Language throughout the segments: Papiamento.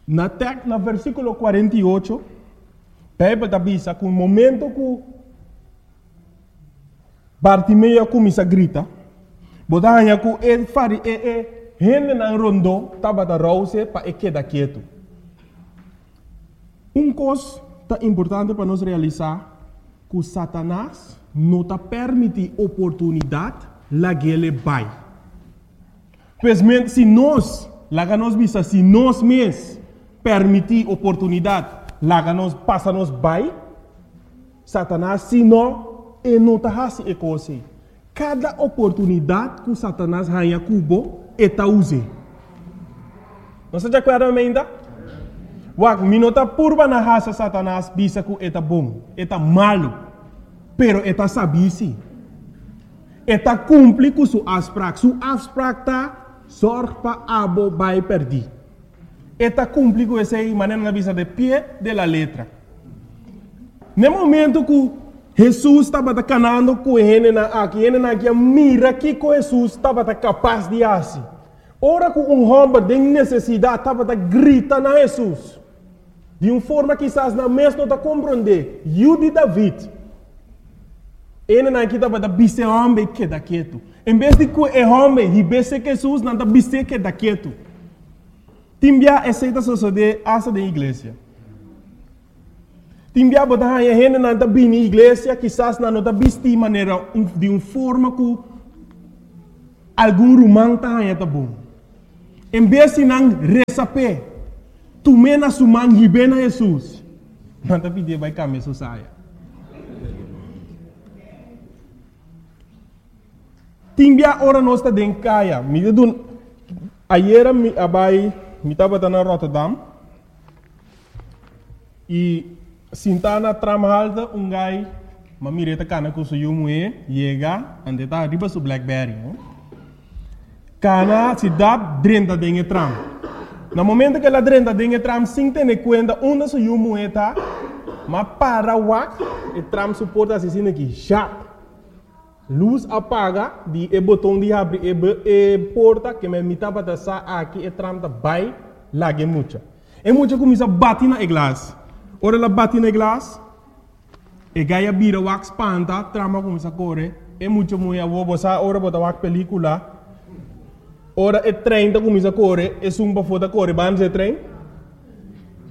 Na tek na versíkulo 48, Beibel ta bisa ku momento ku Bartimeo a kuminsá grita, bo ta haña ku e fari e e hendenan rondó tabata rouse pa e keda ketu. Un kos ta importante pa nos realisá ku Satanas no ta permití oportunidat lag'el bai. Pues men, si nos, laga nos bisa, si nos mes permití oportunidat laga nos pasa nos bai, Satanas si no, e no ta hasi e kos ei. Kada oportunidat ku Satanas haña ku bo, e ta us'é. Nos ta di akuerdo ainda? Wak, mi no ta purba na hasa Satanas bisa ku e ta bon, e ta malu, pero e ta sabí sí. E ta kumpli ku su afsprak. Su afsprak ta zòrg pa abo bai pèrdí. E ta kumpli ku esei, manera nan a bisa de pie de la letra. Na e momento ku Hesus tabata kanando ku e hendenan aki, e hendenan aki a mira kiko Hesus tabata kapas di hasi. Ora ku un hòmber den nesesidat tabata grita na Hesus, di un forma kisas nan mes no ta komprondé, Yu di David! E hendenan aki tabata bisa e hòmber keda ketu. En bes di ku e hòmber hib'é serka Hesus, nan ta bis'é keda ketu. Tin bia esei ta sosodé asta den iglesia. Tin bia bo ta haña hendenan ta bini iglesia, kisas nan no ta bistí manera di un forma ku algun ruman ta haña ta bon. En bes di nan resa p'e, tum'é na su man hib'é na Hesus, nan ta pidié bai kambia su saya. Tin bia ora nos ta den kaya, mi ta duna, ayera mi a bai, mi tabata na Rotterdam, i sintá na tramhalte un gai, m'a mir'é ta kana ku su yu muhé, yega, ante ta riba su blackberry, no? Kana si dap drenta den e tram. Na momento ku el a drenta den e tram sin tene kuenta unda su yu muhé ta, m'a para wak e tram su porta hasi asina aki, zjap! Lus a paga di e boton di habri e e porta ke mi tabata sa aki e tram ta bai laga e mucha. E mucha kuminsa bati na e glas. Ora el a bati na e glas, e gai a bira wak spanta, tram a kuminsa kore, e mucha muhé awor bo sa ora bo ta wak pelikula, ora e trein ta kuminsa kore, esun pafó ta kore banda di e trein.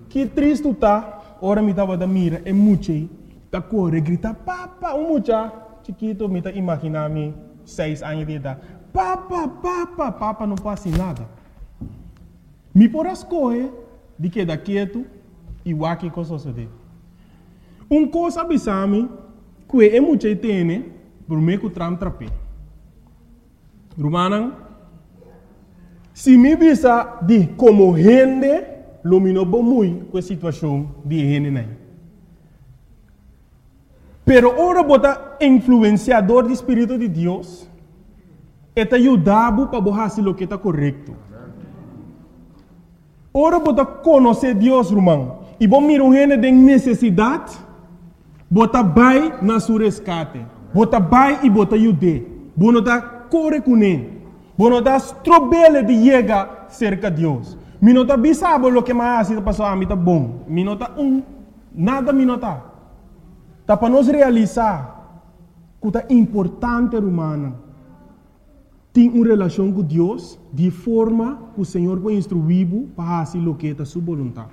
Ki tristu ta ora mi tabata mira e mucha ei ta kore grita papa, un mucha chikito mi ta imagina mi seis aña di edat, papa, papa, papa no por hasi nada. Mi por a skohe di keda ketu i wak kiko sosodé. Un kos a bisa mi ku e mucha ei tene promé ku tram trap'é. Rumannan, si mi bisa di komo hende, lo mi no bumui ku e situashon di e hendenan ei. Pero ora bo ta influensiá dor di spiritu di Dios, e ta yuda bo pa bo hasi loke ta korekto. Ora bo ta konosé Dios, ruman, i bo mira un hende den nesesidat, bo ta bai na su reskate. Bo ta bai i bo ta yud'é. Bo no ta kore kuné. Bo no ta strob'é di yega serka Dios. Mi no ta bisa bo loke mi a hasi ta pasobra ami ta bon. Mi no ta un nada mi no ta. Ta pa nos realisá ku ta importante, rumannan. Tin un relashon ku Dios di forma ku Señor por instruí bo pa hasi loke ta Su boluntat.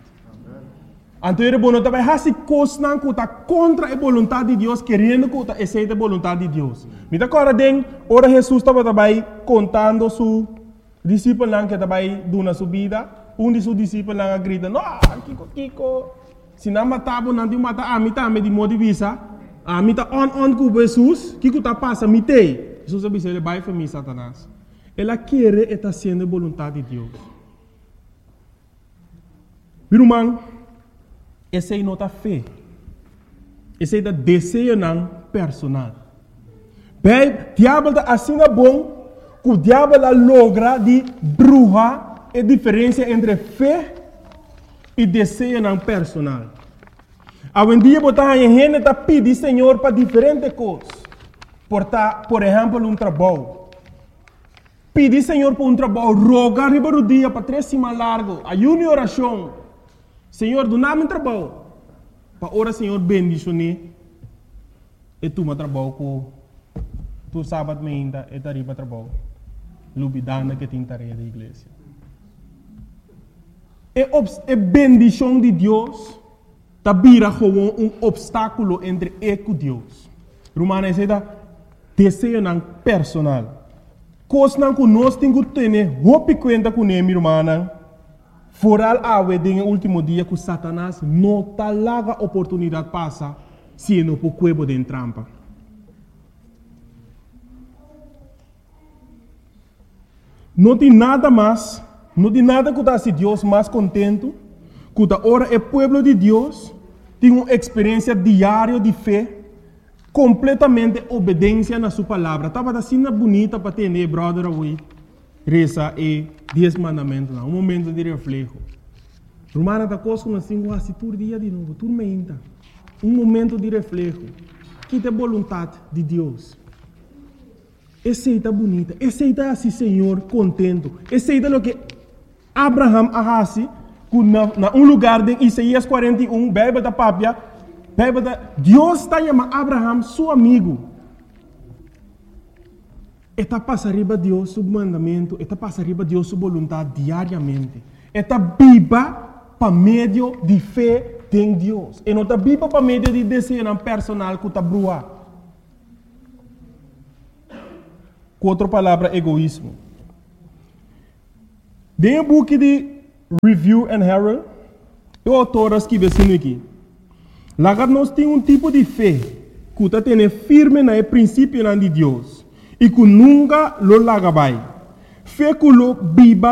Anto ora bo no ta bai hasi kosnan ku ta kontra e boluntat di Dios keriendo ku ta esei ta e boluntat di Dios. Mi ta kòrda den ora Hesus tabata bai kontando su disipelnan ku e ta bai duna su bida, un di su disipelnan a grita, No, kiko kiko? Si nan mata bo, nan tin mata ami tambe di modi bisa, Ami ta on on ku bo, Hesus, kiko ta pasa? Mi t'ei. Hesus a bisa el, Bai for mi, Satanas. El a kere e ta hasiendo e boluntat di Dios. Mi ruman, esei no ta fe. Esei ta deseonan personal. Bij, diabel ta asina bon ku diabel a logra di bruha e diferensia entre fe i deseonan personal. Awendia bo ta haña hende ta pidi Señor pa diferente kos. Por ta, por ehèmpel, un trabou. Pidi Señor pa un trabou, roga riba rudia pa tres siman largu, ayuno i orashon. Señor, duna mi trabou. Pa ora Señor bendishoné, e tuma trabou ku tur sabat meinta e ta riba trabou, lubidando ku e tin tarea di iglesia. E e bendishon di Dios ta bira gewoon un opstákulo entre e ku Dios. Rumannan, esei ta deseonan personal. Kosnan ku nos tin ku tene hopi kuenta kuné, mi rumannan. Foral awe den e último dia ku Satanas no ta laga oportunidat pasa si e no por kue bo den trampa. No tin nada mas, no tin nada ku ta hasi Dios mas kontentu ku ta ora e pueblo di Dios tin un eksperensia diario di fe, kompletamente obedensia na su palabra. Tabata asina bunita pa tende e bròder awe. Resa e Dies Mandamentunan, un momento di refleho. Rumannan, ta kos ku nos tin ku hasi tur dia di nobo, tur meinta. Un momento di refleho. Ki ta e boluntat di Dios? Esei ta bunita. Esei ta hasi Señor kontentu. Esei ta loke Abraham a hasi ku na, na un lugar den Isaías 41, Beibel ta papia, Beibel ta, Dios ta yama Abraham su amigu. E ta pasa riba Dios su mandamentu, e ta pasa riba Dios su boluntat diariamente. E ta biba pa medio di fe den Dios. E no ta biba pa medio di deseonan personal ku ta bruhá. Ku otro palabra, egoismo. Den e buki di Review and Herald, e outor a skibi asina aki, Laga nos tin un tipo di fe ku ta tene firme na e prinsipionan di Dios i ku nunka lo laga bai, fe ku lo biba.